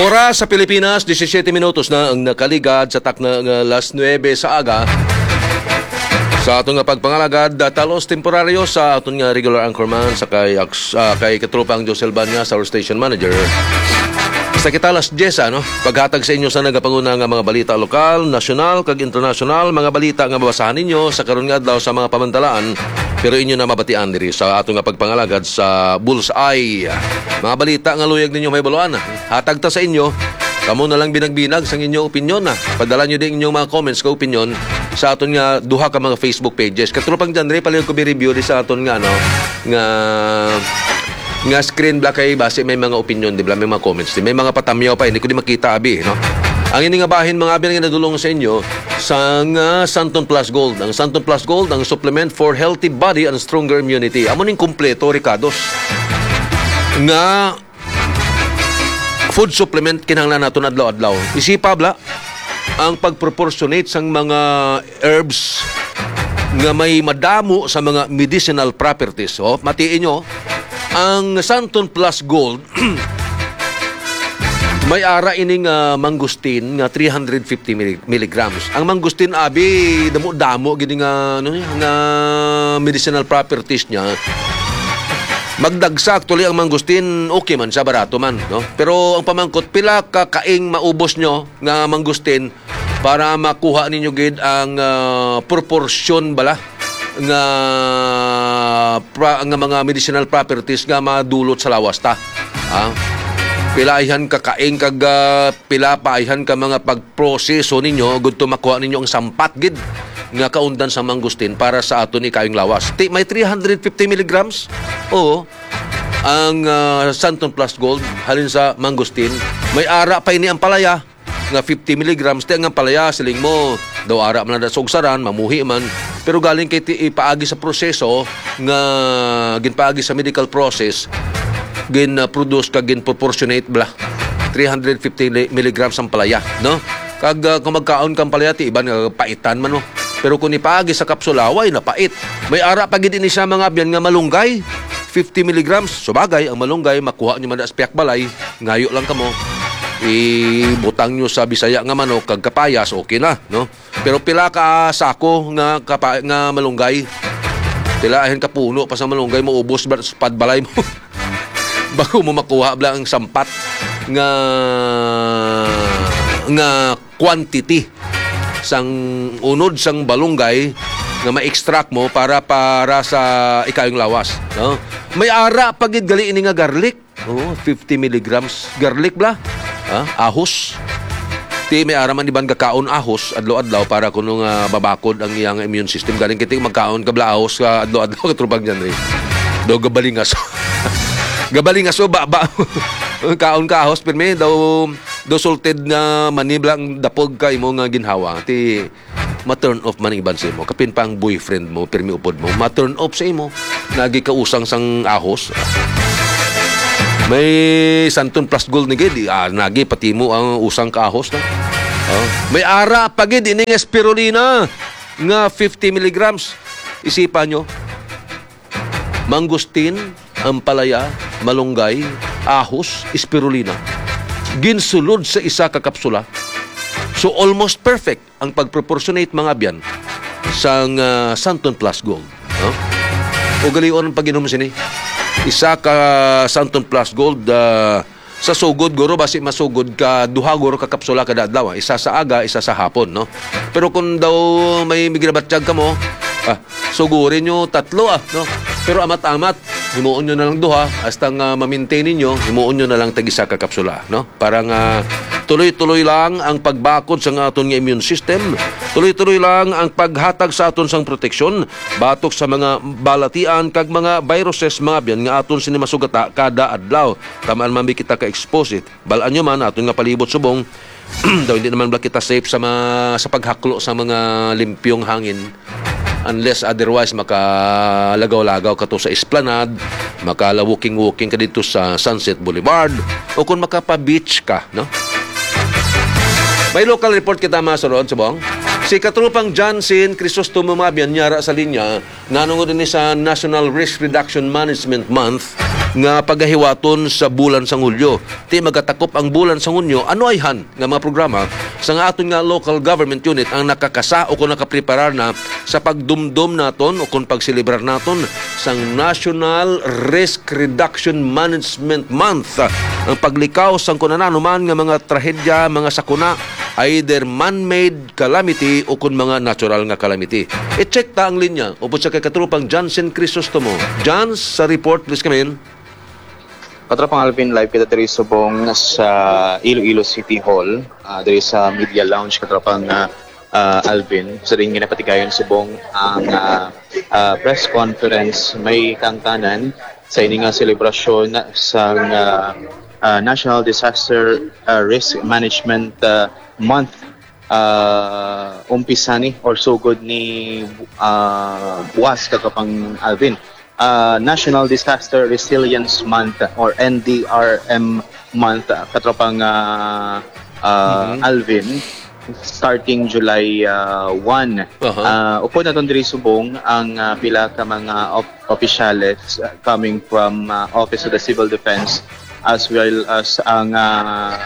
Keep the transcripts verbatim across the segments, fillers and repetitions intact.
Oras sa Pilipinas, disisiyete minutos na ang nakaligad sa takna nga alas nuebe sa aga. Sa aton nga pagpangalagad, ah, talos temporaryo sa aton nga regular anchorman sa kay Aks-, ah, kay Katropang Josel Banyas, our station manager. Sa kita alas diyes, ano, paghatag sa inyo sa nagapanguna nga mga balita lokal, nasyonal, kag internasyonal, mga balita nga mabasahan ninyo sa karon nga adlaw sa mga pamantalaan, pero inyo na mabatian diri sa aton nga pagpangalagad sa Bullseye. Mga balita nga luyag ninyo may baluan, hatag ta sa inyo. Kamo na lang binag-binag sang inyo opinyon, ah. Padala nyo din inyong mga comments kag opinyon sa aton nga duha ka mga Facebook pages. Katropang John Ray, palihog ko bi-review di sa aton nga, ano, nga, nga screen bala kay basi may mga opinyon, di ba? May mga comments, di. May mga patamyaw pa, hindi ko di makita, abi, no? Ang ini nga bahin, mga abi, nga nadulong sa inyo sang, ah, Santon Plus Gold. Ang Santon Plus Gold, ang supplement for healthy body and stronger immunity. Amo ning kompleto, Ricados, nga food supplement kinahanglan naton adlaw-adlaw. Isipa bala ang pag-proportionate sang mga herbs nga may madamo sa mga medicinal properties. Oh, matiin nyo, ang Santon Plus Gold, may ara ining, ah, mangosteen nga three hundred fifty milli-, milligrams. Ang mangosteen, abi, damo-damo gid nga, ano, nga medicinal properties niya. Magdagsa, actually, ang mangosteen, okay man siya, barato man, no? Pero ang pamangkot, pila ka kaing maubos nyo nga mangosteen para makuha ninyo gid ang, ah, proporsyon bala nga, pra-, nga mga medicinal properties nga madulot sa lawas ta? Ah, pila ayhan ka kaing kag, ah, pila pa ayhan ka mga pagproseso ninyo gud to makuha ninyo ang sampat gid nga kaundan sa mangosteen para sa aton ikayong lawas. Ti, may three hundred fifty milligrams? Oo. Ang, ah, Santon Plus Gold halin sa mangosteen, may ara pa ini ang palaya nga fifty milligrams. Ti ang palaya, siling mo, daw ara man na sa ugsaran, mamuhi man. Pero galing kay ti-, ipaagi sa proseso nga ginpaagi sa medical process, gin-produce kag gin-proportionate bala. Three hundred fifty li-, milligrams ang palaya, no? Kag, ah, kung magkaon kang palaya, ti iban nga paitan man, no? Pero kung ipaagi sa kapsula, way napait. May ara pa gid ini siya, mga abyan, nga malunggay, fifty milligrams. Subagay, ang malunggay, makuha nyo man sa piyak balay, ngayo lang kamo. Ibutang nyo sa Bisaya nga manok, kag kapayas, okay na, no? Pero pila ka sako nga kapa-, nga malunggay? Pila ahin ka puno pa sa malunggay, maubos ba sa padbalay mo? Bago mo makuha bala ang sampat nga, nga quantity sang unod sang balunggay nga ma-extract mo para, para sa ikayong lawas, no? May ara pa gid gali ini nga garlic. Oo, fifty milligrams garlic bala. Ha? Ahos. Ti may ara man iban gakaon ahos adlaw-adlaw para kuno nga babakod ang iyang immune system. Galing kiti magkaon ka bala ahos ka adlaw-adlaw, Katropang John Ray. Daw gabalingas. Gabalingas o ba, ba. Kaon ka ahos, pirmi daw, daw salted nga mani bala ang dapog ka imo nga ginhawa. Ti ma-turn off man ang iban sa imo. Kapin pa ang boyfriend mo, pirmi upod mo, ma-turn off sa imo. Nagi ka usang sang ahos. May Santon Plus Gold ni gid, ah, nagi pati mo ang usang ka ahos na. Oh. May ara pa gid ining spirulina nga fifty milligrams. Isipan nyo, mangustin, ampalaya, malunggay, ahos, spirulina. Ginsulod sa isa ka kapsula. So, almost perfect ang pag-proportionate, mga abyan, sang, ah, Santon Plus Gold, no? Ugalion ang pag-inom sini. Isa ka Santon Plus Gold, ah, sa sugod, guro, basi masugod ka, duha, guro, ka kapsula kada adlaw, ah. Isa sa aga, isa sa hapon, no? Pero kung daw may ginabatyag ka mo, ah, sugurin nyo tatlo, ah, no? Pero amat-amat, himuon nyo na lang duha, hasta nga ma-maintain ninyo, himuon nyo na lang tag-isa ka kapsula, no? Para nga tuloy-tuloy lang ang pagbakod sa nga aton nga immune system. Tuloy-tuloy lang ang paghatag sa aton sang proteksyon batok sa mga balatian kag mga viruses, mga abyan, nga aton sini masugata kada adlaw. Tamaan man bi kita ka-expose, eh. Bal-an nyo man, aton nga palibot subong, daw hindi naman bala kita safe sa ma-, sa paghaklo sa mga limpyong hangin. Unless otherwise, makalagaw-lagaw ka to sa Esplanade, makala-walking-walking ka dito sa Sunset Boulevard, o kung makapa-beach ka, no? May local report kita, mga surod, subong. Si Katropang Johnson Crisostomo, mga abyan, niya ara sa linya, nanungod ini sa National Risk Reduction Management Month, nga pagahiwaton sa bulan sang Hulyo. Ti magatakop ang bulan sang Hunyo, ano ayhan nga mga programa sang aton nga local government unit ang nakakasa o kung nakapreparar na sa pagdumdom naton o kung pagselebrar naton sang National Risk Reduction Management Month, ang paglikaw sang kung ano man nga mga trahedya, mga sakuna, either man-made calamity o kung mga natural nga calamity. I-check ta ang linya upod sa kay katropang Johnson Crisostomo. John, sa report, please come in. Katropang Alvin, live kita diri subong sa Iloilo City Hall, ah, diri sa Media Lounge, katropang, ah, ah, Alvin. Sa diin ginapatigayon subong ang, ah, ah, press conference may kaangtanan sa ini nga selebrasyon sang, ah, ah, National Disaster, ah, Risk Management, ah, Month, ah, umpisa ni or sugod ni, ah, buwas, katropang Alvin. Ah, National Disaster Resilience Month or N D R M Month, ah, katropang, ah, ah, Mhm. Alvin, starting July, ah, one. Aha. Ah, upod naton diri subong ang, ah, pila ka mga op-, opisyales, ah, coming from, ah, Office of the Civil Defense as well as ang, ah,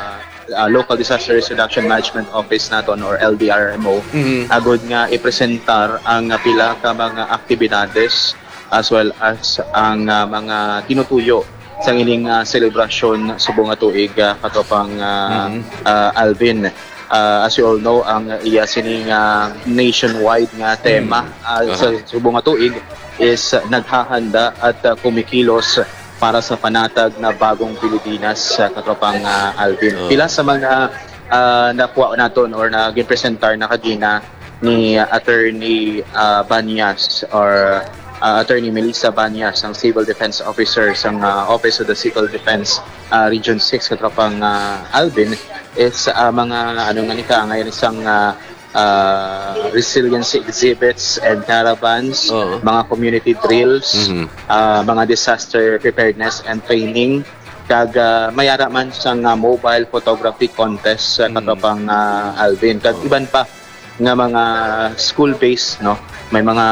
ah, Local Disaster Risk Reduction Management Office naton or L D R M O, Mhm. agod nga ipresentar ang, ah, pila ka mga aktibidades as well as ang, ah, mga tinutuyo sang ining, ah, selebrasyon subong nga tuig, ah, katropang, ah, Mhm. ah, Alvin. Ah, as you all know, ang iya sining, ah, nationwide nga tema, Mm. ah, Aha. sa subong nga tuig is, ah, naghahanda at, ah, kumikilos para sa panatag na bagong Pilipinas, ah, katropang, ah, Alvin. Oh. Pila sa mga, ah, nakuha naton or na ginpresentar na kagina ni Attorney, ah, Banyas or, ah, Attorney Melissa Banyas, ang Civil Defense Officer sang, ah, Office of the Civil Defense, ah, Region six, katropang, ah, Alvin, is, ah, mga, ano nga ni ka, ngayon isang, ah, ah, resiliency exhibits and caravans, Oo. mga community drills, Mhm. ah, mga disaster preparedness and training, kag, ah, may ara man sang, ah, mobile photography contest, ah, Mm. katropang, ah, Alvin, kag Oo. iban pa nga mga school-based, no? May mga,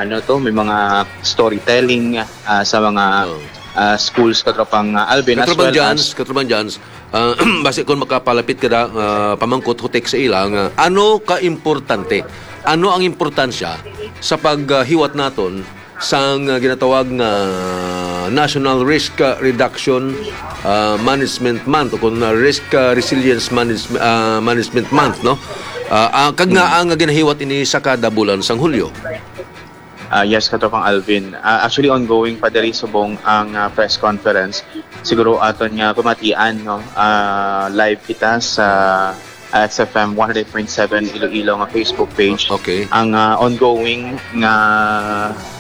ano to, may mga storytelling, ah, sa mga, Oo. ah, schools, katropang, ah, Alvin, as Katropang well Jans, as Katropang Jans, ah, basi kung makapalapit ka na, ah, pamangkot, hutik sa ila nga, ano ka importante? Ano ang importansya sa paghiwat naton sang, ah, ginatawag nga National Risk, ah, Reduction, ah, Management Month o kung, ah, Risk, ah, Resilience Manage-, ah, Management Month, no? Ah, ah, kag nga Hmm. ang ginahiwat ini sa kada bulan sang Hulyo. Ah, yes, Katropang Alvin. Ah, actually, ongoing pa diri subong ang, ah, press conference. Siguro aton nga pamatian, no? Ah, live kita sa X F M one hundred point seven Iloilo nga Facebook page. Okay. Ang, ah, ongoing nga,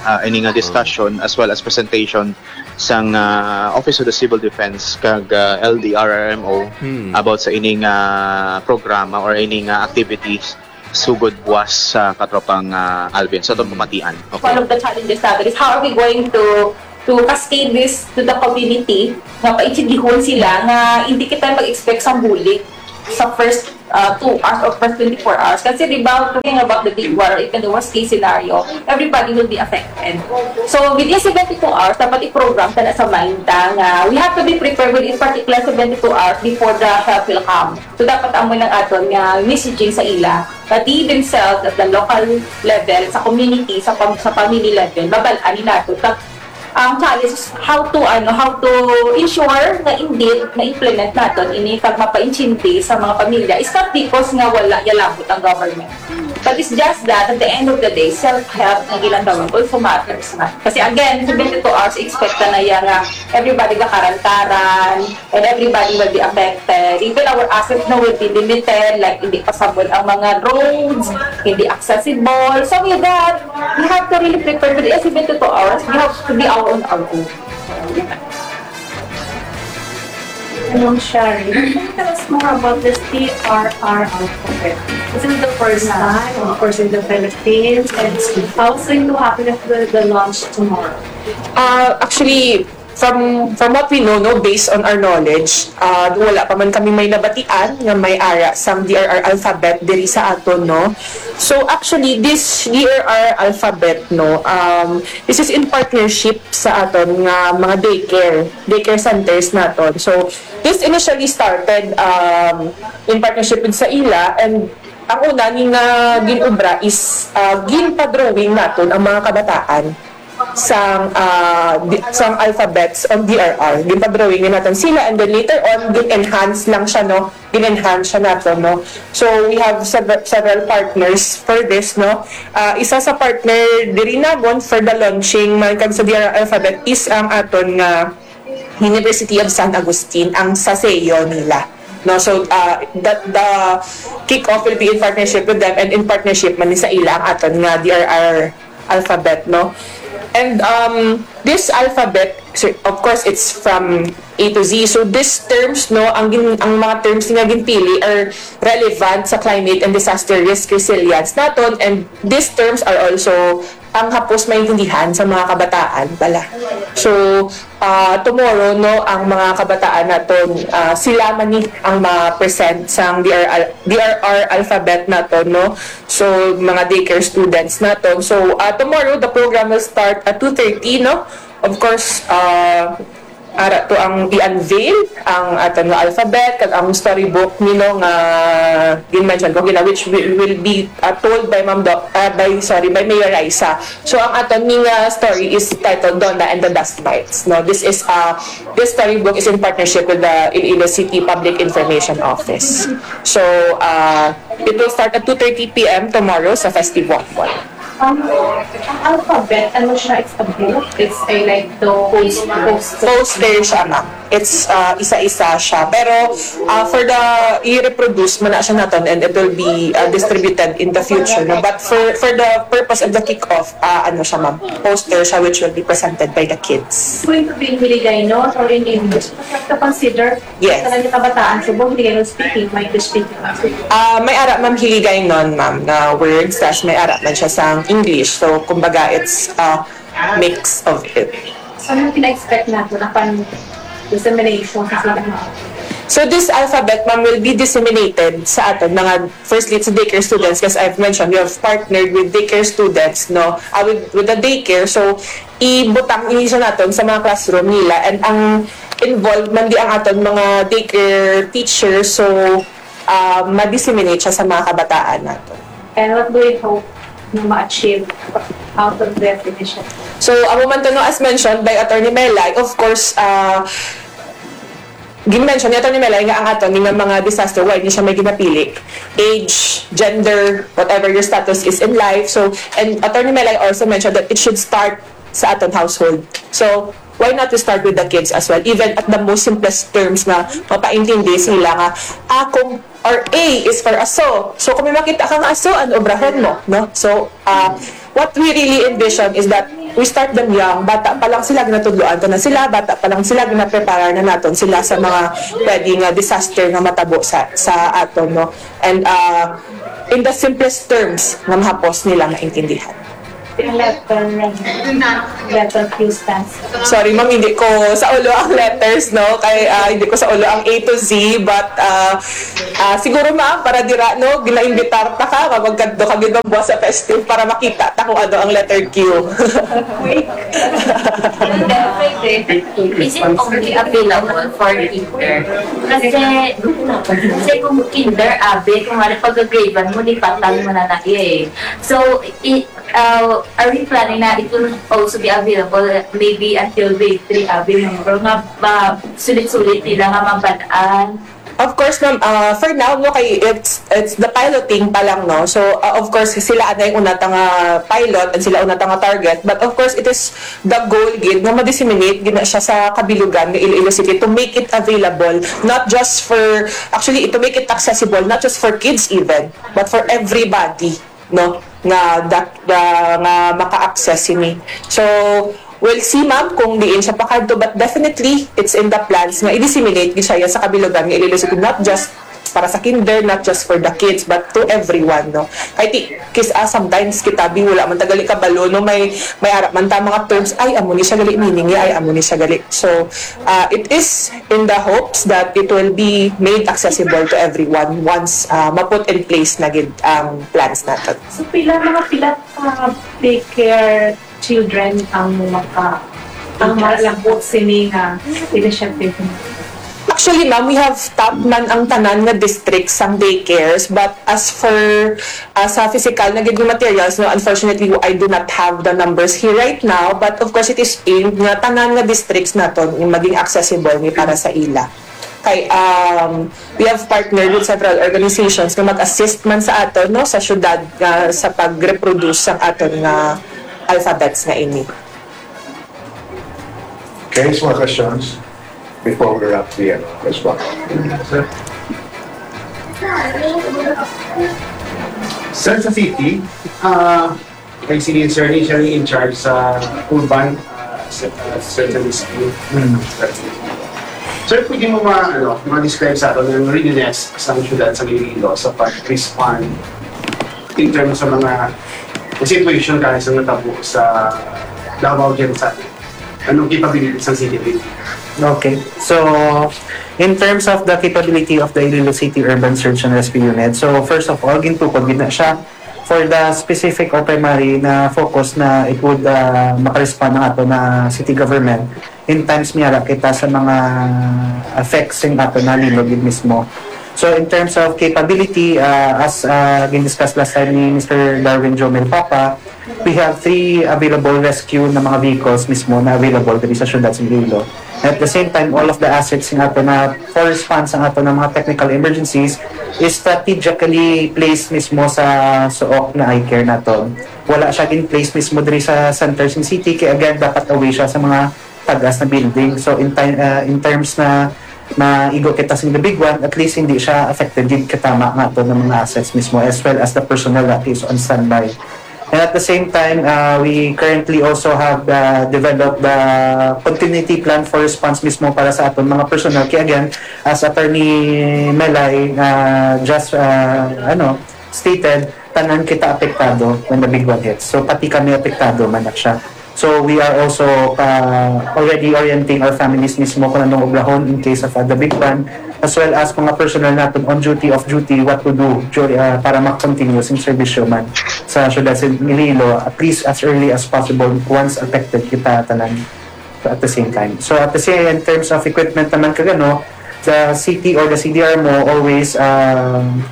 ah, ini nga Oh. discussion as well as presentation sang, ah, Office of the Civil Defense kag, ah, L D R R M O Hmm. about sa ining, ah, programa or ining, ah, activities sugod buwas sa katropang, ah, Alvin. So, atong Hmm. pamatian. Okay. One of the challenges natin is how are we going to to cascade this to the community, nga paintindihon sila nga hindi kita mag-expect sang bulig sa first, uh, two hours or first twenty-four hours. Kasi, di ba, talking about the big war, even the worst case scenario, everybody will be affected. So, within seventy-two hours, dapat i-program ta na sa mind ta nga we have to be prepared within particular seventy-two hours before the help will come. So, dapat amo lang aton nga messaging sa ila, that they themselves at the local level, sa community, sa pam-, sa family level, mabal-an ni nato. Ang challenge is how to, ano, how to ensure nga indeed na-implement naton ini kag mapaintindi sa mga pamilya. It's not because nga wala ya labot ang government. But it's just that at the end of the day, self-help na ginatawag also matters na. Kasi again, seventy-two hours, expect na ya nga everybody gakarantaran, and everybody will be affected. Even our assets na will be limited, like hindi passable ang mga roads, hindi accessible. So with that, we have to really prepare for the seventy-two hours. We have to be our own our own. Hello, Shari. Can you tell us more about this T R R R program? This is the first time, of course, in the Philippines. And how soon to happen if the, the launch tomorrow? Uh, actually, From from what we know, no, based on our knowledge, uh, wala pa man kami may nabatian nga may ara sang D R R alphabet diri sa aton, no. So actually, this D R R alphabet, no, um, this is in partnership sa aton nga mga daycare, daycare centers naton. So this initially started um, in partnership with SAILA, and ang una ni nga ginobra is uh, ginpa-drawing naton ang mga kabataan sang ah, di- sang alphabets on D R R. Ginpa-drawing na naton sila, and then later on gin-enhance lang siya, no, gin-enhance siya naton, no. So we have several, several partners for this, no. Ah, isa sa partner diri namon for the launching man kag sa D R R alphabet is ang aton nga University of San Agustin, ang SASEO nila, no. So uh, that the kick-off will be in partnership with them, and in partnership man ni SAILA ang aton nga D R R alphabet, no? And um, this alphabet, so, of course, it's from A to Z. So these terms, no, ang gin, ang mga terms nga ginpili are relevant sa climate and disaster risk resilience naton, and these terms are also ang hapos maintindihan sa mga kabataan pala. So uh, tomorrow, no, ang mga kabataan naton, uh, sila man ni ang ma-present sang D R R, D R R alphabet naton, no. So mga daycare students naton. So uh, tomorrow the program will start at two thirty, no. Of course, uh, ara to ang i-unveil ang aton nga alphabet kag ang storybook nino nga gin-mention ko gina, which will, will be uh, told by Ma'am Doc, uh, by, sorry, by Mayor Raisa. So ang aton ni nga story is titled Donna and the Dust Mites, no. This is uh, this storybook is in partnership with the Iloilo City Public Information Office. So uh, it will start at two thirty p m tomorrow sa Festival Mall. Ang, ang alphabet, ano siya, it's a book? It's a like the poster. Poster siya, ma'am. It's uh, isa-isa siya. Pero uh, for the i-reproduce mo na siya naton, and it will be uh, distributed in the future. No? But for for the purpose of the kick-off, uh, ano siya, ma'am? Poster siya which will be presented by the kids. It's going to be in Hiligaynon or in English? But you have to consider Yes. Talaga kabataan sa buong Hiligaynon speaking, may English speaking. Uh, may ara, ma'am, Hiligaynon, ma'am, na words. Tapos may ara man siya sa English. So, kumbaga, it's a mix of it. So, ano pina-expect nato na pan dissemination sa sila? So this alphabet, ma'am, will be disseminated sa aton mga firstly sa daycare students, as I've mentioned, we have partnered with daycare students, no, uh, with, with the daycare. So ibutang ini sa naton sa mga classroom nila, and ang involved man di ang aton mga daycare teachers. So uh, ma-disseminate siya sa mga kabataan naton. And what do we hope na ma-achieve out of that initiative? So amo man to, no, as mentioned by Attorney Melay, of course, uh, gin-mention ni Attorney Melay nga ang aton nga mga disaster, why ni siya may ginapili, age, gender, whatever your status is in life. So and Attorney Melay also mentioned that it should start sa aton household. So why not we start with the kids as well, even at the most simplest terms, nga mapaintindi sila nga, ah, kung or A is for aso. So kung may makita ka nga aso, ano obrahon mo, no? So uh, what we really envision is that we start them young. Bata pa lang sila, ginatudloan ko na sila, bata pa lang sila, ginaprepara na naton sila sa mga pwede nga disaster nga matabo sa sa aton, no? And uh, in the simplest terms nga mahapos nila maintindihan. Letter, letter Q stands. Sorry, ma'am, hindi ko sa ulo ang letters, no? Kay uh, hindi ko sa ulo ang A to Z, but uh, uh, siguro, ma'am, para dira, no, ginaimbitar ta ka, magkadto ka gid buwas sa festive para makita ta kung ano ang letter Q. Is it only available for kinder? Kasi, kasi kung kinder, abi, kung ano pag-gradean mo, lipatan mo na na eh. So, i, uh, are we planning na it will also be available maybe until grade three, abi, no? Pero nga, ma, sulit-sulit nila nga mabalaan. Of course, ma'am. Uh, for now, no, kay it's it's the piloting pa lang, no. So uh, of course sila anay una ta nga pilot and sila una ta nga target. But of course it is the goal gid nga ma-disseminate gid na siya sa kabilugan nga Iloilo City to make it available, not just for, actually, to make it accessible not just for kids even, but for everybody, no, nga that uh, nga maka-access ini. So we'll see, ma'am, kung diin siya pakadto, but definitely it's in the plans nga i-disseminate gid siya sa kabilugan nga Iloilo City, not just para sa kinder, not just for the kids, but to everyone, no? Kay ti, kis-, ah, sometimes kita bi wala man tagali kabalo, no? May, may ara man ta mga terms, ay, amo ni siya gali meaning niya, ay, amo ni siya gali. So, uh, it is in the hopes that it will be made accessible to everyone once uh, ma-put in place na gid ang plans naton. So, pila, mga pila ka daycare children ang maka, ang malabot sini nga initiative? Actually, ma'am, we have stopped man ang tanan nga districts sang daycares, but as for, uh, sa physical na gid nga materials, no, unfortunately, I do not have the numbers here right now, but of course, it is aimed nga tanan nga districts naton maging accessible ni para sa ila. Kay, um, we have partnered with several organizations nga mag-assist man sa aton, no, sa syudad nga sa pag-reproduce sang aton nga alphabets nga ini. Okay, so mga questions before we wrap the, ano, this one. Sir, sa city, ah, kay si Sir Lee, siya yung in charge sa urban, ah, sa, ah, certain scheme. Sir, pwede mo ma, ano, ma-describe sa atin ang readiness sa syudad sa Iloilo sa pag-respond in terms sa mga situation kaya sa natabo sa Davao Genocide? Anong capabilities ng city building? Okay. So, in terms of the capability of the Iloilo City Urban Search and Rescue Unit, so first of all, gintukod gid na siya for the specific or primary na focus na it would uh, makarespond ang ato na city government in times may ara kita sa mga effects sing ato na linog gid mismo. So in terms of capability, uh, as uh, gin-discuss last time ni Mister Darwin Jomel Papa, we have three available rescue na mga vehicles mismo na available diri sa syudad sa Iloilo. At the same time, all of the assets nga ato na for response ang ato na mga technical emergencies is strategically placed mismo sa suok na eye care nato. Wala siya in place mismo diri sa center sa city, kaya again, dapat away siya sa mga tagas na building. So in time, uh, in terms na maigo kita sa the big one, at least hindi siya affected gid katama nga ato ng mga assets mismo as well as the personnel that is on standby. And at the same time, uh, we currently also have uh, developed the continuity plan for response mismo para sa aton mga personnel. Kaya again, as Attorney Melay uh, just uh, ano stated, tanan kita apektado when the big one hits. So pati kami apektado man na siya. So we are also uh, already orienting our families mismo kung anong oblahon in case of uh, the big one, as well as mga personnel natin on duty, off duty, what to do during, uh, para mag-continue sing serbisyo man sa syudad sa Iloilo, at least as early as possible once affected kita tanan at the same time. So at the same, in terms of equipment naman kagano, the city or the C D R mo always um,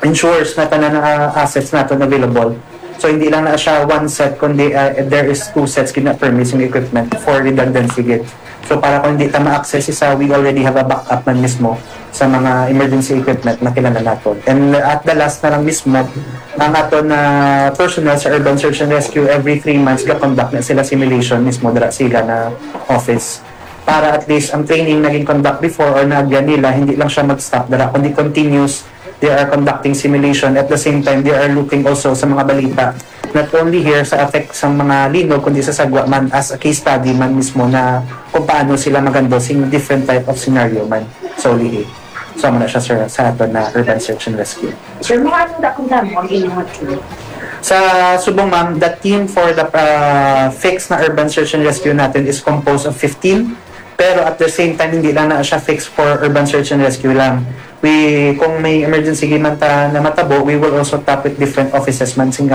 ensures na tanan nga assets naton available. So hindi lang na siya one set, kundi uh, there is two sets gid na permits and equipment for redundancy gid. So para kung hindi ta ma-access isa, we already have a backup man mismo sa mga emergency equipment na kailangan naton. And at the last na lang mismo, ang aton na personnel sa Urban Search and Rescue, every three months ga-conduct na sila simulation mismo dira sila na office. Para at least ang training na gin-conduct before or naagyan nila, hindi lang siya mag-stop dira, kundi continuous. They are conducting simulation. At the same time, they are looking also sa mga balita, not only here sa effect sa mga linog, kundi sa sagwa man as a case study man mismo na kung paano sila mag-handle sing different type of scenario man. So, lihi. So, amo na siya, sir, sa aton na urban search and rescue. Sir, mga anong dakong damo ang inyong team? Sa subong, ma'am, the team for the uh, fix na urban search and rescue natin is composed of fifteen. Pero at the same time, hindi lang na siya fixed for urban search and rescue lang. We, kung may emergency gid man ta na matabo, we will also tap with different offices man sing nga